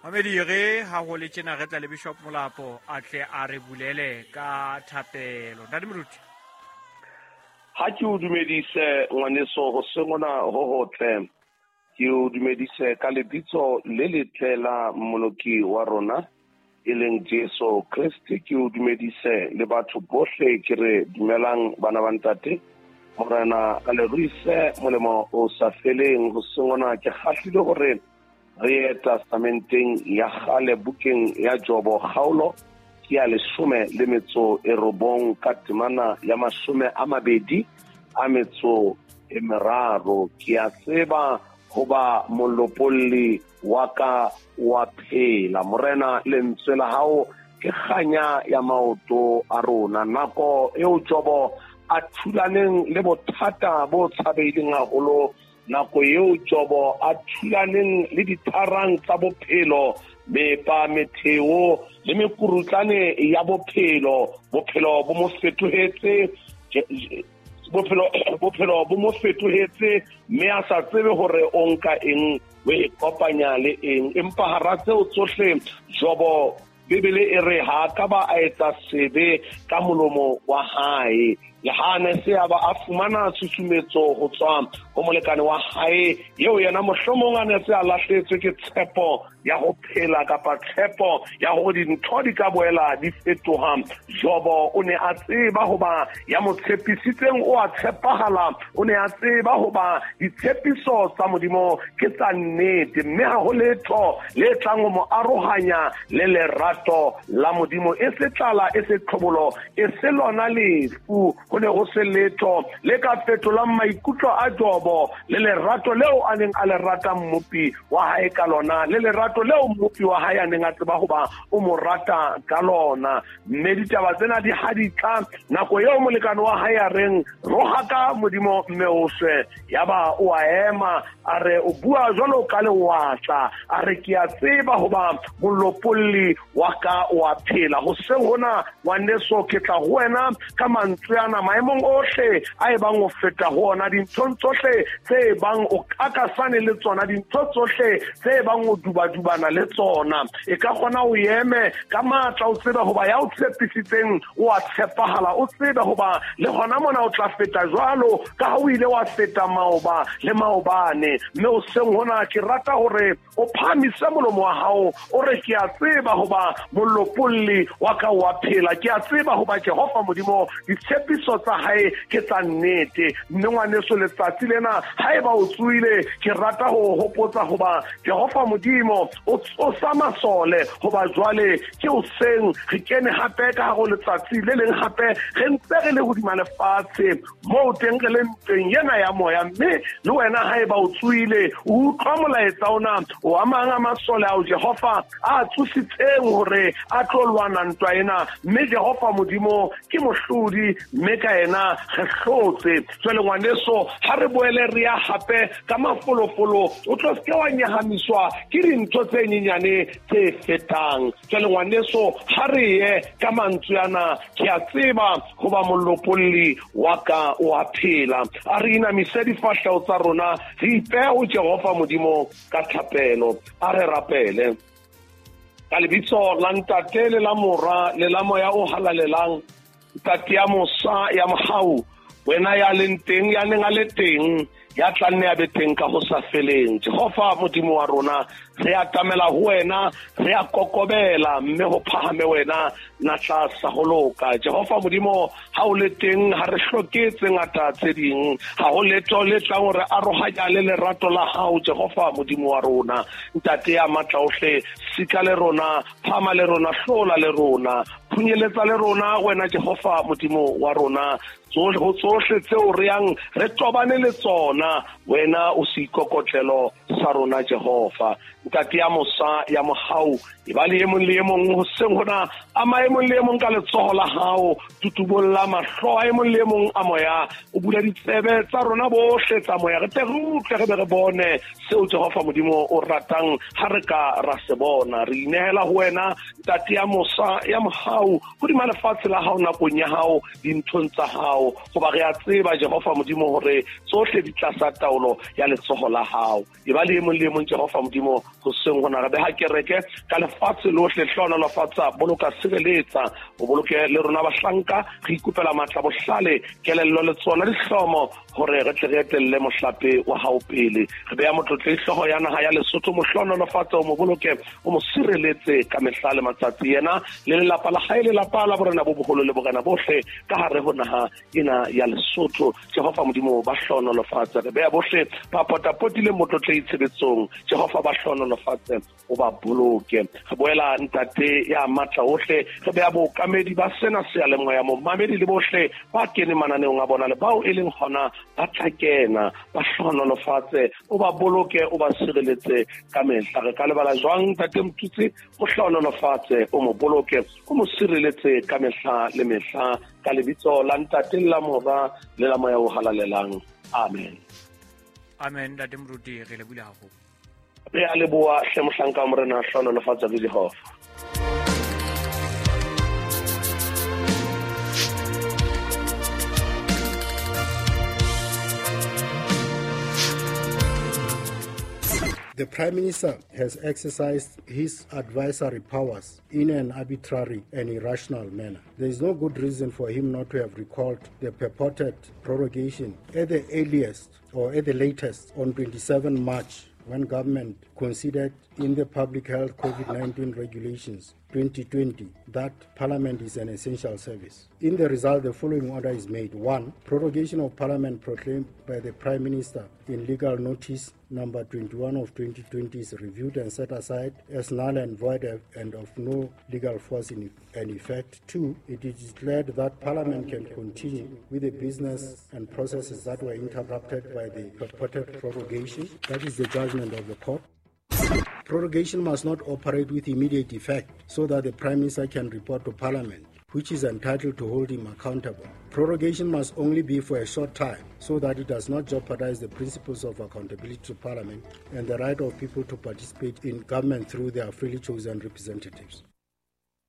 Mamedi re ha ho le tjena re tla le Bishop Molapo a tle a re bulele ka thapelo. Ntate Moruti. Ha ke o dumedise ngwaneso hoseng hona ho hotle. Ke o dumedise ka lebitso le letle la Mmoloki wa rona e leng Jesu Kreste. Ke o dumedise le batho bohle, ke re dumelang bana ba ntate. Morena a le ruise molemo o sa feleng. Hoseng hona ke kgahlile hore re ye testamenteng ya kgale bukeng ya Jobo kgaolo ke ya 19 ka temana ya 23. Ke a tseba hoba molopolli wa ka wa phela. Morena, lentswe la hao ke kganya ya maoto a rona. Nako eo Jobo a thulaneng le bothata bo tshabeileng haholo, nako eo Jobo a thulaneng le ditharang tsa bophelo, mepa, metheo le mekurutlane ya bophelo, bophelo bo mo fetohetse, bophelo bo mo fetohetse, mme a sa tsebe hore o nka eng, o e kopanya le eng. Empa hara tseo tsohle, Jobo, Bibele e re ha ka ba a etsa sebe ka molomo wa hae. Le ha ne se a ba a fumana tshusumetso ho tswa ho molekane wa hae, eo yena mohlomong a ne se a lahletswe ke tshepo ya ho phela kapa tshepo ya hore dintho di ka boela di fetoha. Jobo o ne a tseba hoba ya mo tshepisitseng o a tshepahala, o ne a tseba hoba ditshepiso tsa Modimo ke tsa nnete, mme ha ho letho le tlang ho mo arohanya le lerato la Modimo. E se tlala, e se tlhobolo, e se lona lefu. Ho ne ho se letho le ka fetolang maikutlo a Jobo le lerato leo a neng a le rata Mmopi wa hae ka lona, le lerato leo Mmopi wa hae a neng a tseba hoba o mo rata ka lona. Mme ditaba tsena di ha di tla nako eo molekane wa hae a reng rohaka Modimo mme o shwe, yaba o a ema a re o bua jwalo ka lewatla, a re ke a tseba hoba molopolli wa ka o a phela. Hoseng hona ngwaneso, ke tla ho wena ka mantswe ana maemong ohle a e bang o feta ho ona, dinthong tsohle tse bang o kakasane le tsona, dintho tsohle tse bang o dubadubana le tsona. E ka kgona o eme ka matla, o tsebe hoba ya o tshepisitseng o a tshepahala, o tsebe hoba le hona mona o tla feta jwalo ka ha o ile wa feta maoba le maobane. Mme hoseng hona ke rata hore o phahamise molomo wa hao, o re ke a tseba hoba molopolli wa ka o a phela, ke a tseba hoba Jehova Modimo ditshepiso tsa hae ke tsa nnete. Mme ngwaneso, letsatsi lena haeba o tsoile, ke rata ho hopotsa hoba Jehova Modimo o tsosa masole, hoba jwale ke hoseng re kene hape ka hare ho letsatsi le leng hape, re ntse re le hodima lefatshe moo teng re le ntweng ena ya moya. Mme le wena haeba o tsoile, o utlwa molaetsa ona, o amang a masole ao Jehova a tsositseng hore a tlo lwana ntwa ena. Mme Jehova Modimo ke mohlodi, mme ka yena re hlotse. Jwale ngwaneso, ha re boele re ya hape ka mafolofolo, o tlo seke wa nyahamiswa ke dintho tse nyenyane tse fetang. Jwale ngwaneso, ha re ye ka mantswe ana, ke a tseba hoba molopolli wa ka o a phela. A re inamise difahleho tsa rona, re ipehe ho Jehova Modimo ka thapelo. A re rapele ka lebitso la Ntate le la Mora le la Moya o Halalelang. Ntate ya mosa ya mohau, wena ya leng teng, ya neng a le teng, ya tla nne a be teng ka ho sa feleng, Jehova Modimo wa rona, re atamela ho wena, re a kokobela, mme ho phahame wena natla sa ho loka. Jehova Modimo, ha o le teng ha re hloke tse ngata tse ding, ha ho letho le tlang hore arohanya le lerato la hao, Jehova Modimo wa rona. Ntate ya matla ohle, sika le rona, phama le rona, hlola le rona, phunyeletsa le rona, wena Jehova Modimo wa rona. Ho tsohle tseo re yang re tobane le tsona, wena o seikokotlelo sa rona, Jehova. Ntate ya mosa ya mohau, e ba le e mong le e mong hoseng hona, ama e mong le e mong ka letsoho la hao, tutubolla mahlo a e mong le e mong a moya, o bula ditsebe tsa rona bohle tsa moya, re tle re utlwe re be re bone seo Jehova Modimo o ratang ha re ka ra se bona. Re inehela ho wena, Ntate ya mosa ya mohau, hodima lefatshe la hao, nakong ya hao, dinthong tsa hao, hoba re a tseba, Jehova Modimo, hore tsohle di tlasa taolo ya letsoho la hao. E ba le e mong le e mong, Jehova Modimo. Hoseng hona re beha kereke ka lefatshe lohle, hlohonolofatsa, boloka, sireletsa, o boloke le rona bahlanka. Re ikopela matla, bohlale, kelello le tsona dihlomo hore re tle re etelle mohlape wa hao pele. Re beha motlotlei hlooho ya naha ya Lesotho, mo hlohonolofatse, o mo boloke, o mo sireletse ka mehla le matsatsi, yena le lelapa la hae, lelapa la borena bo boholo le borena bohle ka hare ho naha ena ya Lesotho. Jehova Modimo, ba hlohonolofatse. Re beha bohle ba potapotileng motlotlei tshebetsong, Jehova ba hlohonolofatse, o ba boloke. Re boela ntate ya matla ohle, re beha bookamedi ba sena seyalemoya, momamedi le bohle ba keneng mananeong a bona le bao e leng hona ba tla kena, ba hlohonolofatse, o ba boloke, o ba sireletse ka mehla. Re ka lebala jwang ntate Motutsi? O hlohonolofatse, o mo boloke, o mo sireletse ka mehla le mehla, ka lebitso la ntate le la mora le la moya o halalelang, amen. Amen. Ntate Moruti, re lebohile haholo. Re a leboha hle mohlanka wa Morena, hlohonolofatsa ke Jehova. The Prime Minister has exercised his advisory powers in an arbitrary and irrational manner. There is no good reason for him not to have recalled the purported prorogation at the earliest or at the latest on 27 March, when government considered in the Public Health COVID-19 Regulations 2020 that Parliament is an essential service. In the result, the following order is made. 1. Prorogation of Parliament proclaimed by the Prime Minister in legal notice number 21 of 2020 is reviewed and set aside as null and void and of no legal force in effect. 2. It is declared that Parliament can continue with the business and processes that were interrupted by the purported prorogation. That is the judgment of the court. Prorogation must not operate with immediate effect so that the Prime Minister can report to Parliament, which is entitled to hold him accountable. Prorogation must only be for a short time so that it does not jeopardize the principles of accountability to Parliament and the right of people to participate in government through their freely chosen representatives.